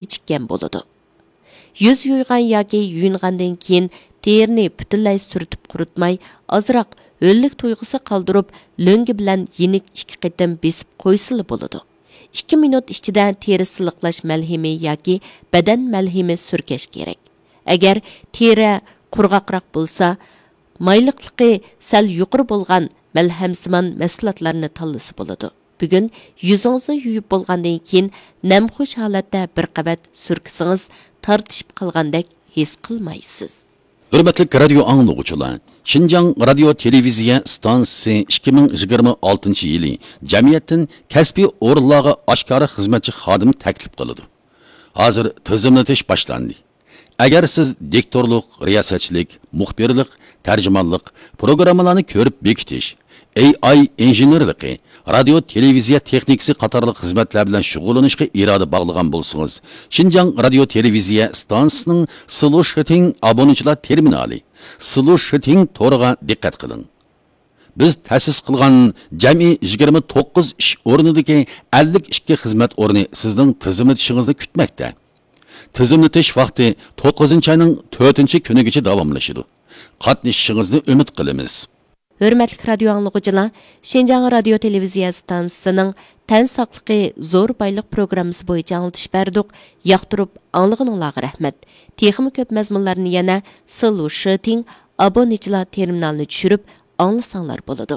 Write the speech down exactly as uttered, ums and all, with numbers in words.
كېچىككەن بولىدۇ. يۈز يۇيغان ياكى يۇيۇنغاندىن كېيىن تېرىنى پۈتۈنلەي سۈرتۈپ قۇرۇتماي، ئازراق ھۆللۈك تۇيغۇسى قالدۇرۇپ، لۆڭگە بىلەن يېنىك ئىككى قېتىم بېسىپ قويسىلا بولىدۇ. ئىككى مىنۇت ئىچىدە تېرە سىلىقلاش مەلھىمى ياكى بەدەن مەلھىمى سۈركەش كېرەك. ئەگەر تېرە قۇرغاقراق بولسا، مايلىقلىقى سەل يۇقىرى بولغان مەلھەمسىمان مەھسۇلاتلارنى تاللىسا بولىدۇ. بۈگۈن يۈزىڭىزنى يۇيۇپ بولغاندىن كېيىن نەمخۇش ھالەتتە بىر قەۋەت سۈركىسىڭىز، تارتىشىپ قالغاندەك ھېس قىلمايسىز. ھۆرمەتلىك رادىيو ئاڭلىغۇچىلار، شىنجاڭ رادىيو تېلېۋىزىيە ئىستانسىسى ئىككى مىڭ يىگىرمە ئالتىنچى يىلى جەمئىيەتتىن كەسپىي ئورۇنلارغا ئاشكارا خىزمەتچى خادىم تەكلىپ قىلىدۇ. ھازىر تىزىملىتىش باشلاندى. ئەگەر سىز دىكتورلۇق، رىياسەتچىلىك، مۇخبىرلىق، تەرجىمانلىق، پروگراممىلارنى كۆرۈپ بېكىتىش، ئېي ئاي ئىنژېنېرلىقى، رادىيو تېلېۋىزىيە تېخنىكىسى قاتارلىق خىزمەتلەر بىلەن شۇغۇللىنىشقا ئىرادە باغلىغان بولسىڭىز، شىنجاڭ رادىيو تېلېۋىزىيە ئىستانسىسىنىڭ سلۇشىتىڭ ئابۇنىچىلار تېرمىنالى، سلۇشىتىڭ تورىغا دىققەت قىلىڭ. بىز تەسىس قىلغان جەمئىي يىگىرمە توققۇز ئىش ئورنىدىكى ئەللىك ئىككى خىزمەت ئورنى سىزنىڭ تىزىملىتىشىڭىزنى كۈتمەكتە. تىزىملىتىش ۋاقتى توققۇزىنچى ئاينىڭ تۆتىنچى كۈنىگىچە داۋاملىشىدۇ. قاتنىشىشىڭىزنى ئۈمىد قىلىمىز. ھۆرمەتلىك رادىيو ئاڭلىغۇچىلار، شىنجاڭ رادىيو تېلېۋىزىيە ئىستانسىسىنىڭ تەن ساقلىقى زور بايلىق پروگراممىسى بويىچە ئاڭلىتىش بەردۇق. ياقتۇرۇپ ئاڭلىغىنىڭلارغا رەھمەت. تېخىمۇ كۆپ مەزمۇنلارنى يەنە سلۇشىتىڭ ئابۇنىچىلار تېرمىنالىنى چۈشۈرۈپ ئاڭلىساڭلار بولىدۇ.